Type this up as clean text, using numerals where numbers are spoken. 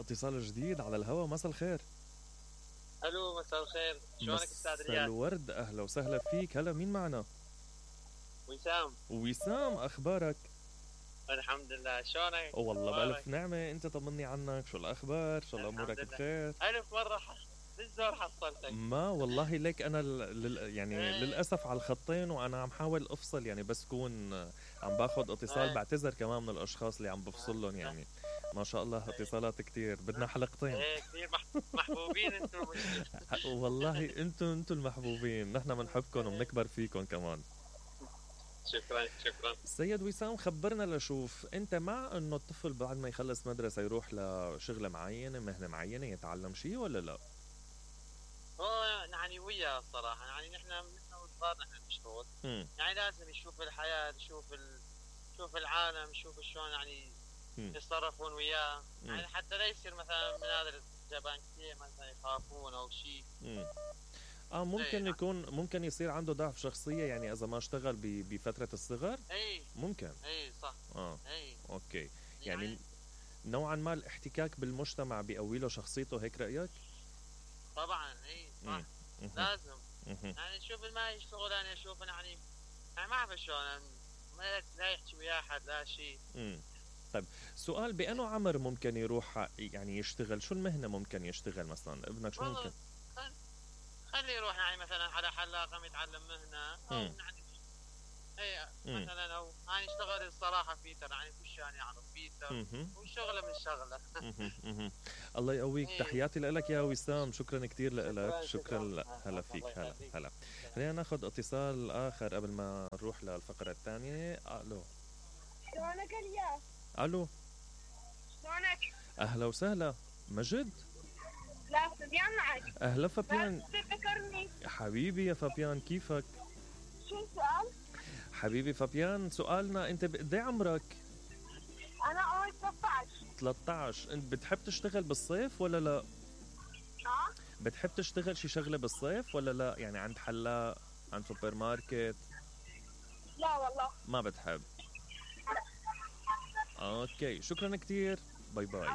اتصال جديد على الهوا. مساء الخير. الو مساء الخير، شلونك استاذ مساء رياض؟ الورد، اهلا وسهلا فيك. هلا مين معنا؟ وسام. وسام، اخبارك؟ الحمد لله، شلونك؟ والله أخبارك؟ بألف نعمة. انت طمني عنك، شو الاخبار؟ ان شاء الله امورك الحمد لله. بخير. ألف مرة بالزور حصلتك. ما والله ليك انا يعني إيه. للاسف على الخطين، وانا عم حاول افصل يعني، بس كون عم باخذ اتصال. إيه. بعتذر كمان من الاشخاص اللي عم بفصلهم يعني. ما شاء الله اتصالات كتير، بدنا حلقتين. ايه كثير محبوبين انتم. والله انتم المحبوبين، نحن بنحبكم وبنكبر فيكم كمان. شكرا شكرا. سيد وسام، خبرنا لشوف، انت مع انه الطفل بعد ما يخلص مدرسة يروح لشغلة معينة، مهنة معينة، يتعلم شيء ولا لا؟ هو يعني وياه الصراحة، يعني نحن وصغار نحن نشتغل. يعني لازم يشوف الحياة، يشوف العالم، يشوف شلون يعني يتصرفون وياه. يعني حتى لا يصير مثلا من هذا الجبان كثير مثلا يخافون او شيء. ممكن يكون، ممكن يصير عنده ضعف شخصية يعني إذا ما اشتغل بفترة الصغر. ممكن. صح. أوكي. يعني نوعا ما الاحتكاك بالمجتمع بيقوي له شخصيته، هيك رأيك؟ طبعا صح. لازم يعني شوف ما يشتغل، انا اشوف يعني ما اعرف شلون، لا يحكي ويا احد لا شيء. طيب سؤال، بأنه عمر ممكن يروح يعني يشتغل؟ شو المهنة ممكن يشتغل مثلا ابنك؟ شو ممكن؟ خليه يروح يعني مثلا على حلاقة يتعلم مهنة، او يعني مثلا او يعني يشتغل الصراحة فيتر، يعني كل يعني يعرف فيتر وشغله من شغله. الله يقويك. تحياتي لك يا وسام، شكرا كتير لك. شكرا. هلا فيك. هلا خلينا ناخذ اتصال اخر قبل ما نروح للفقرة الثانية. الو. شلونك الياس؟ الو. شلونك؟ اهلا وسهلا. مجد؟ لا فابيان معك. اهلا فابيان. لا تفكرني حبيبي يا فابيان، كيفك؟ شو السؤال؟ حبيبي فابيان، سؤالنا انت بقد ايه عمرك؟ انا عمري 13. 13. انت بتحب تشتغل بالصيف ولا لا؟ بتحب تشتغل شي شغله بالصيف ولا لا؟ يعني عند حلاق، عند سوبر ماركت؟ لا والله ما بتحب. اوكي، شكرا كتير. باي باي.